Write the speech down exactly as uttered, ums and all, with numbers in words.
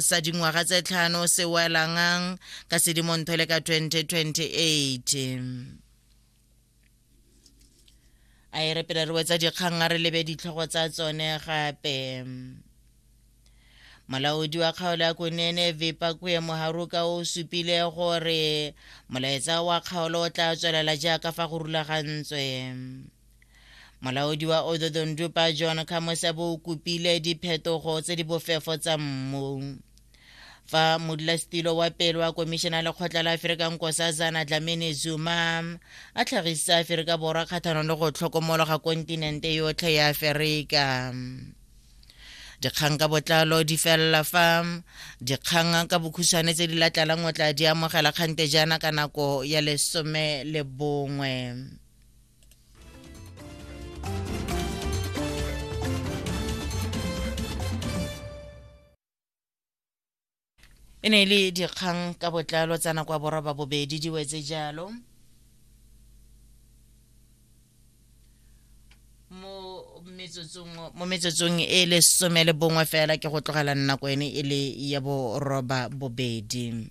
Sa dingwaga tse tlhano se welang ka Sedimonthole ka twenty twenty-eight. A e re pele re wetsa dikgang, a re lebe ditlhogo tsa tsone gape. Molaodi wa kgaolo ya Kunene, Vipakwe Muharuka, o supile gore molaetsa wa kgaolo o tla tswelela jaaka fa go rulagantswe. Molaodi wa Otjozondjupa, John Khamusebo, o kopile diphetogo tse di bofefo tsa mmu, fa modulasetilo wa pele wa komišene ya Lekgotla la Aforika, Nkosazana Dlamini Zuma, a tlhagisa Aforika Borwa kgatlhanong le go tlhokomologa kontinente yotlhe ya Aforika. Dikgang ka botlalo di felela fa. Dikgang ka bokhutshwane tse di latlalang o tla di amogela kgante jaana ka nako ya lesome le bongwe. E ne e le dikgang ka botlalo tsa nako ya boroba bobedi di wetse jalo mo metsotsong mo metsotsong e lesome le bongwe fela ke go tlogela nako ene e le ya boroba bobedi.